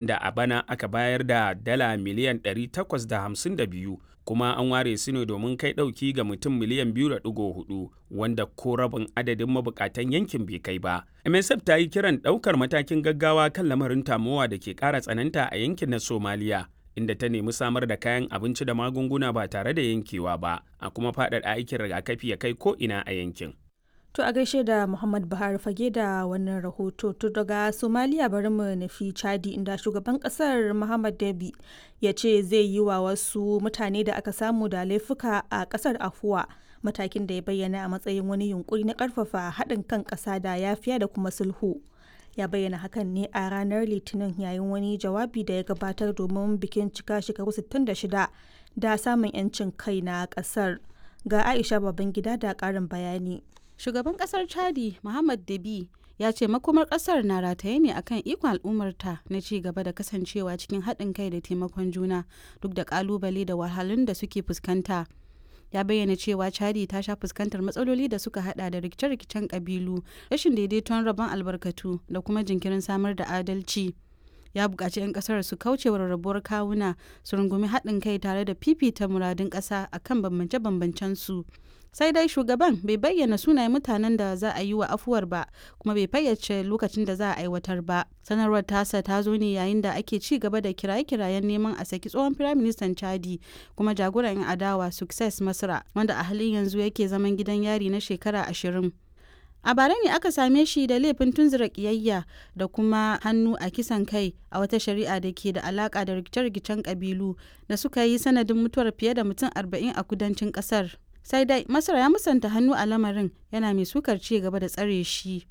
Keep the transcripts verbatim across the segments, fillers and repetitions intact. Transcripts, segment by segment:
Da a bana aka bayar da dala miliyan ɗari takwas da hamsin da biyu, kuma an ware su ne domin kai ɗauki ga mutum miliyan biyu da ɗigo huɗu, wanda ko rabin adadin mabukatan yankin bai kai ba. M S F ta yi kiran ɗaukar matakin gaggawa kan lamarin tamowa da ke ƙara tsananta a yankin na Somaliya, inda ta nemi samar da kayan abinci da magunguna ba tare da yankewa ba, a kuma faɗaɗa aikin rigakafi ya kai ko'ina a yankin. To, a gaishe da Muhammad Buhari Fage da wannan rahoto. To, daga Somalia bari mu nufi Chadi, inda shugaban kasar Muhammad Dabi ya ce zai yi wa wasu mutane da aka samu da laifuka a kasar afuwa, matakin da ya bayyana a matsayin wani yunkuri na karfafa haɗin kan ƙasa da yafiya da kuma sulhu. Ya bayyana hakan ne a ranar Litinin yayin wani jawabi da ya gabatar domin bikin cika shekaru sittin da shida da samun 'yancin kai na kasar. Ga Aisha Babangida da ƙarin bayani. Shugaban kasar Chadi, Muhammad Dabi, ya ce makomar kasar na rataye ne akan ikon al'ummarta na ci gaba da kasancewa cikin haɗin kai da taimakon juna duk da kalubale da wahalun da suke fuskanta. Ya bayyana cewa Chadi ta sha fuskantar matsaloli da suka hada da rikice-rikicen kabilu, rashin daidaiton rabon albarkatu da kuma jinkirin samar da adalci. Ya buƙaci 'yan ƙasar su kauce wa rarrabuwar kawuna, su rungumi haɗin kai tare da fifita muradun ƙasa akan bambance-bambancen su. Sai dai shugaban bai bayyana sunayen mutanen da za a yi wa afuwar ba, kuma bai fayyace lokacin da za a aiwatar ba. Sanarwar tasa ta zo ne yayin da ake ci gaba da kiraye-kirayen neman a saki tsohon firaministan Chadi kuma jagoran 'yan adawa Success Masra, wanda a halin yanzu yake zaman gidan yari na shekara ashirin. A bara ne aka same shi da laifin tunzura kiyayya da kuma hannu a kisan kai a wata shari'a da ke da alaka da rikice-rikicen kabilu da suka yi sanadin mutuwar fiye da mutum arba'in a kudancin kasar. Sai dai Masar ya musanta hannu a lamarin, yana mai sukar ci gaba da tsare shi.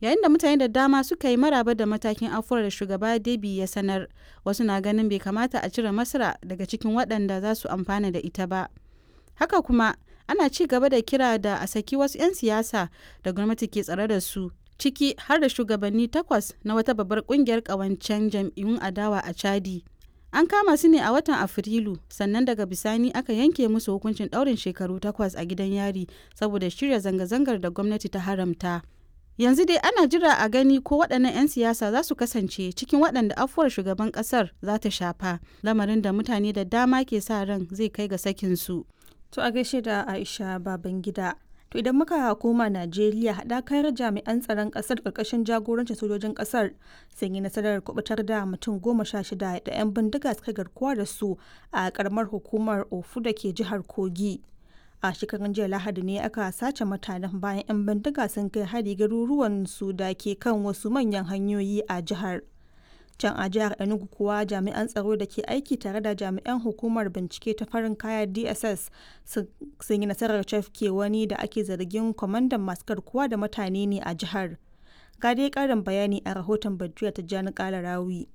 Yayin da mutane da dama suka yi maraba da matakin afuwar da shugaba Debi ya sanar, wasu na ganin bai kamata a cire Masra daga cikin waɗanda za su amfana da ita ba. Haka kuma ana ci gaba da kira da a saki wasu 'yan siyasa da gwamnati ke tsare da su, ciki har da shugabanni takwas na wata babbar kungiyar ƙawancen jam'iyyun adawa a Chadi. An kama su ne a watan Afrilu, sannan daga bisani aka yanke musu hukuncin ɗaurin shekaru takwas a gidan yari saboda shirya zanga-zangar da gwamnati ta haramta. Yanzu dai ana jira a gani ko waɗannan 'yan siyasa za su kasance cikin waɗanda afuwar shugaban ƙasar za ta shafa, lamarin da mutane da dama ke sa ran zai kai ga sakinsu. To, a gaishe da Aisha Babangida. To, idan muka koma Najeriya, haɗakar jami'an tsaron ƙasar ƙarƙashin jagorancin sojojin ƙasar sun yi nasarar kubutar da mutum goma sha shida da 'yan bindiga suka garkuwa da su a ƙaramar hukumar Ofu da ke jihar Kogi. A shekarun jiya Lahadi ne aka sace mutanen bayan 'yan bindiga sun kai hari garuruwan su da ke kan wasu manyan hanyoyi a jihar. Can a jihar Enugu kuwa, jami'an tsaro da ke aiki tare da jami'an hukumar bincike ta farin kaya D S S sun yi nasarar cafke wani da ake zargin kwamandan masu garkuwa da mutane ne a jihar. Ga dai karin bayani a rahoton Badriya Tijjani Kalarawi.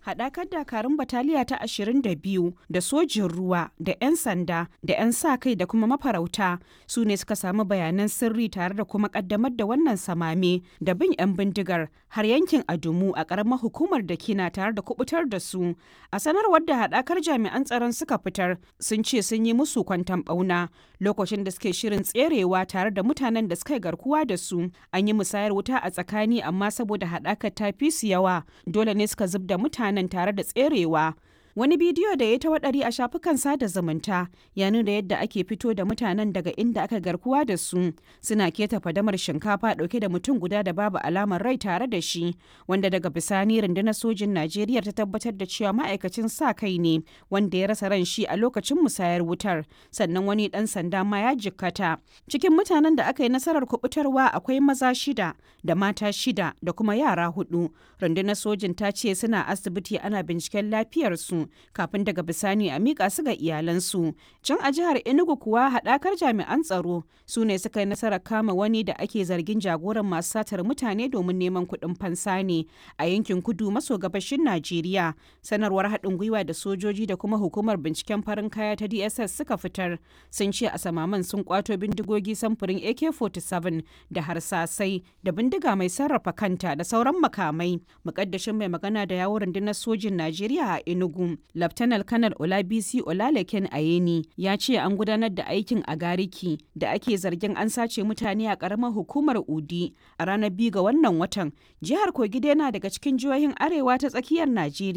Haɗakar dakarun bataliya ta ashirin da biyu da sojin ruwa da 'yan sanda da 'yan sa-kai da kuma mafarauta su ne suka samu bayanan sirri tare da kuma ƙaddamar da wannan samame da bin 'yan bindigar har yankin Adumu a ƙaramar hukumar da kina tare da kubutar da su. A sanarwar da haɗakar jami'an tsaron suka fitar, sun ce sun yi musu kwantan ɓauna lokacin da suke shirin tserewa tare da mutanen da suka yi garkuwa da su. An yi musayar wuta a tsakani, amma saboda haɗakar ta fi su yawa, dole ne suka zub da mutane mutanen tare da tserewa. Wani bidiyo da ya ta waɗari a shafukan sada zumunta ya nuna yadda ake fito da mutanen daga inda aka garkuwa da su, suna keta fadamar shinkafa ɗauke da mutum guda da babu alamar rai tare da shi, wanda daga bisani rundunar sojin Najeriya ta tabbatar da cewa ma'aikacin sa kai ne wanda ya rasa ran shi a lokacin musayar wutar, sannan wani ɗan sanda ma ya jikkata. Cikin mutanen da aka yi nasarar kubutarwa akwai maza shida da mata shida da kuma yara hudu. Rundunar sojin ta ce suna asibiti ana binciken lafiyarsu kafin daga bisani a miƙa su ga iyalansu. Can a jihar Enugu kuwa, haɗakar jami'an tsaro su ne suka yi nasarar kama wani da ake zargin jagoran masu satar mutane domin neman kuɗin fansa ne a yankin kudu maso gabashin Najeriya. Sanarwar haɗin gwiwa da sojoji da kuma hukumar binciken farin kaya ta D S S suka fitar sun ce a samaman sun kwato bindigogi samfurin A K arba'in da bakwai da harsasai da bindiga mai sarrafa kanta da sauran makamai. Mukaddashin mai magana da yawon rundunar sojin Najeriya a Enugu, Laftanar Kanar Olabisi Olalekan Ayeni, ya ce an gudanar da aikin a Gariki da ake zargin an sace mutane a karamar hukumar Udi a ranar biyu ga wannan watan. Jihar Kogi dai na daga cikin jihohin arewa ta tsakiyar Najeriya.